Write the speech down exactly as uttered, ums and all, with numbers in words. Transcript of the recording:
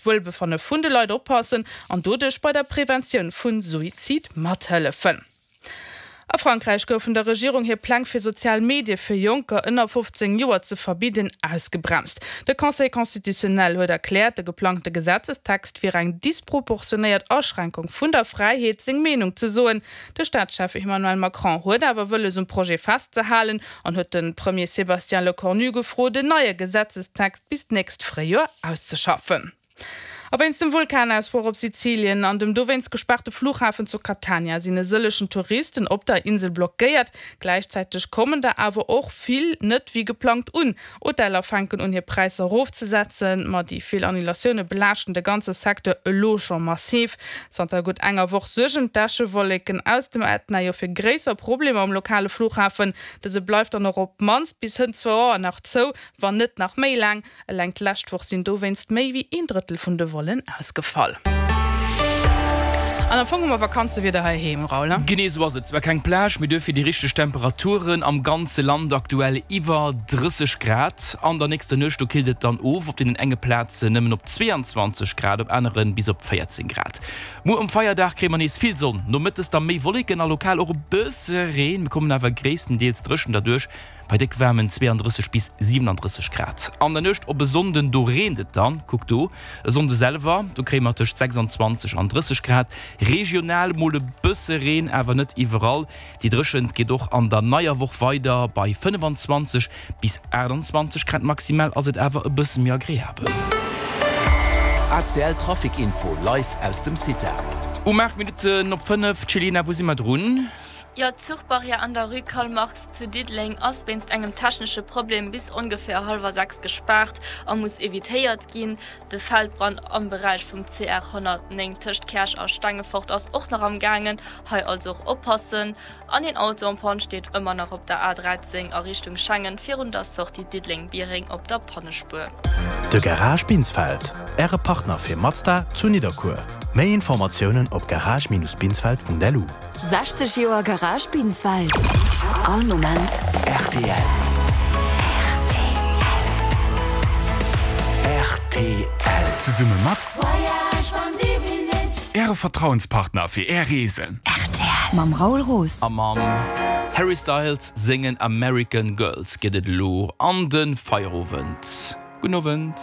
d'Wuelbefanne vun de Leit oppassen an doduerch bei der Preventioun vu Suizid mathëllefen. A Frankräich goufen der Regierung hir Pläng fir sozial Medie fir Jonker ënner fofzéng Joer ze verbidden ausgebremst. De Conseil constitutionnel huet erkläert, de geplangte Gesetzestext wier eng disproportionéiert Aschränkung vun der Fräiheet seng Meenung ze soen. De Staatschef Emmanuel Macron huet awer wëlles um Projet festzehalen an huet de Premier Sébastien Lecornu gefrot en neie Gesetzestext bis d'nächst Fréijoer auszeschaffen. A wéinst dem Vulkanausbroch op Sizilien an dem dowéinst gespaarte Flughafen zu Catania sinn e sëllechen Touristen op der Insel blockéiert. Gläichzäiteg kommen der awer och vill net wéi geplangt un. Hoteller fänken un hir Präisser erofzesetzen, ma déi vill Annulatioune belaaschten de ganze Secteur elo scho massiv. Zanter gutt enger Woch suergen d'Äschewolleken aus dem Ätna jo fir gréisser Problemer um lokale Flughafen. Dëse bleift dann och op d'mannst bis hënt zwou Auer nach zou, wann net nach méi laang. Eleng d'lescht Woch sinn dowéinst méi wéi een Drëttel vun de Vollen ausgefall. An am Fong hu mer Vakanzewieder heiheem, Raoul, ne? Genee esou ass et. Zwar keng Plage, mee duerfir déi richteg Temperaturen am ganze Land aktuell iwwer drësseg Grad. An der nächster Nuecht do killt et dann of, op deenen enge Plazen nëmmen op zweeanzwanzeg Grad, op anere bis op véierzéng Grad. Muer um Feierdag kréie mer nees vill Sonn, nomëttes da méi Wolleken a lokal och e bësse Reen. Mir kommen awer gréisstendeels dréchen derduerch. Bei déck waarmen zweeandrësseg bis siwenandrësseg Grad an der Nuecht op e Sonnden, do reent et dann. Kuck do, e Sonnde selwer, do kréie mer tëscht sechsanzwanzeg an drësseg Grad, regional mol e bësse Reen, awer net iwwerall. Déi Dréchent geet och an der neier Woch weider, bei fënnefan-zwanzeg bis aachtanzwanzeg Grad maximal ass et awer e bësse méi agreabel. A C L Trafic Info live aus dem CITA. Um aacht Minutten op fënnef, Céline, wou si mer drun? Jo, d'Zuchbarrière an der Rue Karl Marx zu Diddeleng ass wéinst engem technesche Problem bis ongeféier hallwer sechs gespaart a muss evitéiert ginn. De Feldbrand am Beräich vum C R honnertnéng tëscht Käerch a Stengefort ass och nach am gaangen, hei also och oppassen. An een Auto en panne steet ëmmer nach op der A dräizéng a Richtung Schengen virun der Sortie Diddeleng-Biereng op der Pannespuer. De Garage Binsfeld, Äre Partner fir Mazda zu Nidderkuer. Méi Informatiounen op garage-binsfeld.lu. sechzeg Joer Garage Binsfeld, all Moment R T L. R T L. Zesumme mat Äre Vertrauenspartner fir Är Reesen. R T L mam Raoul Roos. A mam Harry Styles sengen American Girls geet et elo an de Feierowend. Gudden Owend.